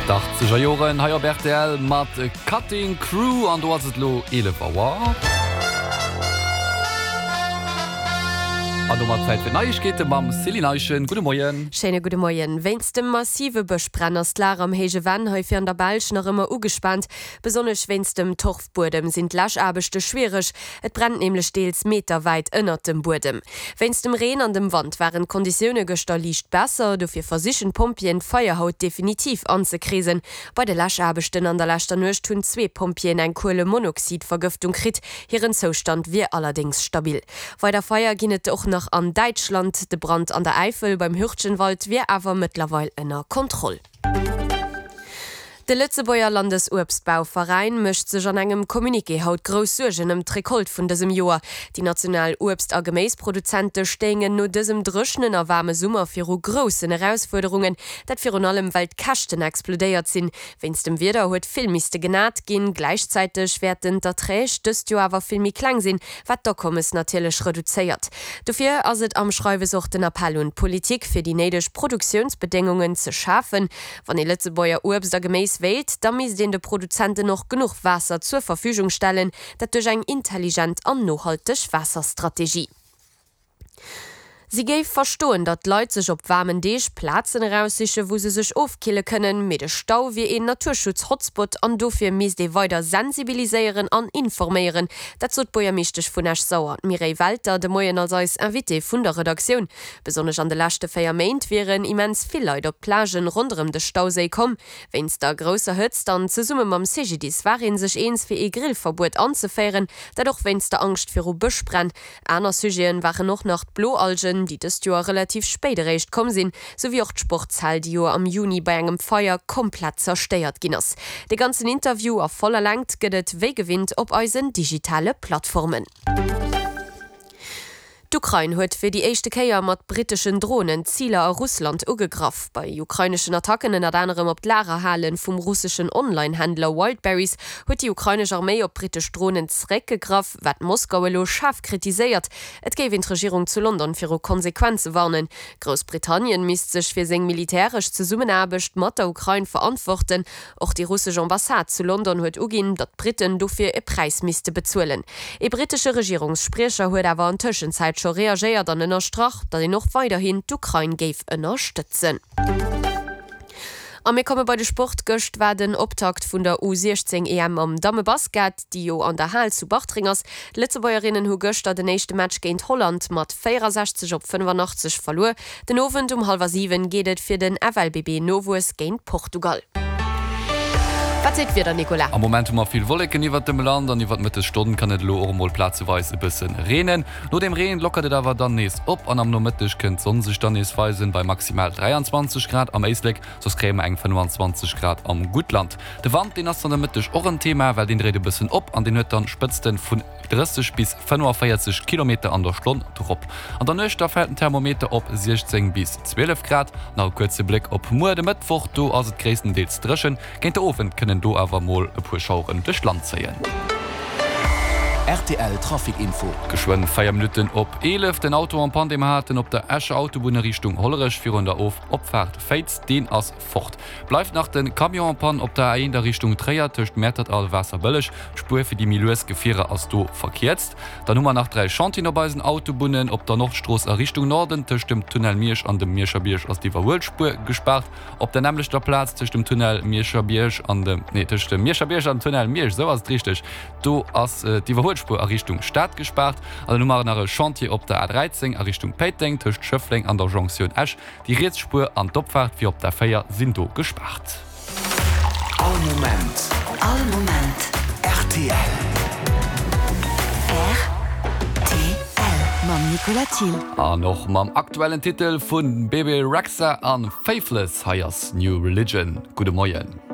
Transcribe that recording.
D'Achtzeger Joren hei op rtl mat Cutting Crew an do ass et elo 11 Auer. An domat Zäit fir d'Neiegkeete mam Céline Eischen. Gudde Moien. Schéine gudde Moien. Wéinst dem massive Bëschbränn ass d'Lag am Héije Venn hei fir an der Belsch nach ëmmer ugespaant. Besonnesch wéinst dem Torfbuedem sinn d'Läschaarbechte schwiereg. Et brennt nämlech deels meterwäit ënnert dem Buedem. Wéinst dem Reen an dem Wand waren d'Konditioune gëschter liicht besser. Dofir versichen d'Pompjeeën d'Feier haut definitiv anzekreesen. Bei de Läschaarbechten an der leschter Nuecht hunn zwee Pompjeeën eng Kuelemonoxidvergëftung kritt. Hiren Zoustand wier allerdéngs stabil. Weider Feier ginn et och nach an Däitschland. De Brand an der Äifel beim Hürtgenwald wier awer mëttlerweil ënner Kontroll. De Lëtzebuerger Landesuebstbauveräin mécht sech an engem Communiqué haut grouss Suergen ëm d'Recolte vun dësem Joer. Déi national Uebst a Geméisproduzente stéingen no dësem dréchenen a waarme Summer viru groussen Erausfuerderungen. Dat virun allem well d'Käschten explodéiert sinn. Wéinst dem Wieder huet vill misste genat ginn. Gläichzäiteg wäerten d'Erträg dëst Joer awer vill méi kleng sinn, wat d'Akommes natierlech reduzéiert. Dofir ass et am Schreiwes och den Appell un d'Politik, fir déi néideg Produktiounsbedéngungen ze schafen. Wann ee Lëtzebuerger Uebst a Geméis wéilt, da misst een de Produzenten och genuch Waasser zur Verfügung stellen, dat duerch eng intelligent an nohalteg Waasserstrategie. Si géif verstoen, datt d'Leit sech op waarmen Deeg Plazen eraussichen, wou se sech ofkille kënnen, mee de Stau wier een Naturschutz-Hotspot an dofir misst ee weider sensibiliséieren an informéieren. Dat sot d'Buergermeeschtesch vun Esch-Sauer, d'Mireille Welter, de Moien als eis Invitée vun der Redaktioun. Besonnesch an de leschte 4 Méint wieren immens vill Leit op d'Plagen ronderëm de Stauséi komm. Wéinst der grousser Hëtzt an zesumme mam CGDIS war ee sech eens fir ee Grillverbuet anzeféieren, dat och wéinst der Angscht viru Bëschbränn. Aner Sujeten waren och nach d'Bloalgen, déi dëst Joer relativ spéit eréischt komm sinn, souwéi och d'Sportshal, déi jo am Juni bei engem Feier komplett zerstéiert ginn ass. De ganzen Interview a voller Längt gëtt et wéi gewinnt op eisen digitale Plattformen. D'Ukrain huet fir déi éischte Kéier mat britteschen Dronen Ziler a Russland ugegraff. Bei ukraineschen Attacken, ënnert anerem op d'Lagerhale vum russeschen Online-Händler Wildberries, huet déi ukrainesch Arméi op brittesch Dronen zeréckgegraff, wat Moskau elo schaarf kritiséiert. Et géif een d'Regierung zu London viru Konsequenze warnen. Groussbritannien misst sech fir seng militäresch Zesummenaarbecht mat der Ukrain verantworten. Och déi russesch Ambassade zu London huet uginn, datt d'Britten dofir e Präis misste bezuelen. Ee brittesche Regierungsspriecher huet awer an Tëschenzäit scho reagéiert an ënnerstrach, datt een och weiderhin d'Ukrain géif ënnerstëtzen. A mir komme bei de Sport. Gëscht war den Optakt vun der U 16 EM am Dammebasket, déi jo an der Hal zu Bartreng ass. D'Lëtzebuergerinnen hu gëschter den éischte Match géint Holland mat 64 op 85 verluer. Den Owend um hallwer 7 geet et fir den FLBB Nowuess géint Portugal. Wat seet d'Wieder, Nicolas? Am Moment hu mer vill Wolleken iwwert dem Land an iwwert d'Mëttesstonn kann et elo och emol plazeweis e bësse reenen. No dem Reen lockert et awer dann nees op an am Nomëtteg kënnt d'Sonn sech dann nees weisen, bei maximal 23 Grad am Éislek, soss kréie mer eng 25 Grad am Guttland. De Wand, deen ass dann de Mëtteg och en Thema, well deen dréit e bëssen op an deen huet dann Spëtzten vun 30 bis 45 Kilometer an der Stonn drop. An der Nuecht da fält den Thermometer op 16 bis 12 Grad. Nach e kuerze Bléck op muer, de Mëttwoch, do ass et gréisstendeels dréchen. Géint de Owend kënnen do awer mol e puer Schaueren duerch d'Land zéien. Rtl Trafic Info. Geschwënn 4 Minutten op 11, Den Auto en panne, dee mer haten op der Escher Autobunn a Richtung Hollerech virun der Opfaart Féiz, deen ass fort. Bleift nach den Camion en panne op der A1 a Richtung Tréier tëscht Mäertert a Waasserbëlleg. D'Spuer fir déi méi lues Gefierer ass do verkierzt. Dann hu mer nach 3 Chantieren op eisen Autobunnen. Op der Nordstrooss a Richtung Norden tëscht dem Tunnel Miersch an dem Mierscher Bierg ass d'Iwwerhuelspuer gespaart. Op der nämmlechter Plaz tëscht dem Tunnel Mierscher Bierg an dem, nee tëscht dem Mierscher Bierg an dem Tunnel Miersch, esou ass et richteg, do ass d'Iwwerhuelspuer a Richtung Stad gespaart. An dann hu mer nach e Chantier op der A13 a Richtung Péiteng tëscht Schëffleng an der Jonktioun Esch. Déi riets Spuer an d'Opfaart fir op d'A4 sinn do gespaart. All Moment. All Moment. Rtl. Rtl mam Nicolas Thill. An och mam aktuellen Titel vu Bebe Rexha an Faithless. Hei ass New Religion. Gudde Moien.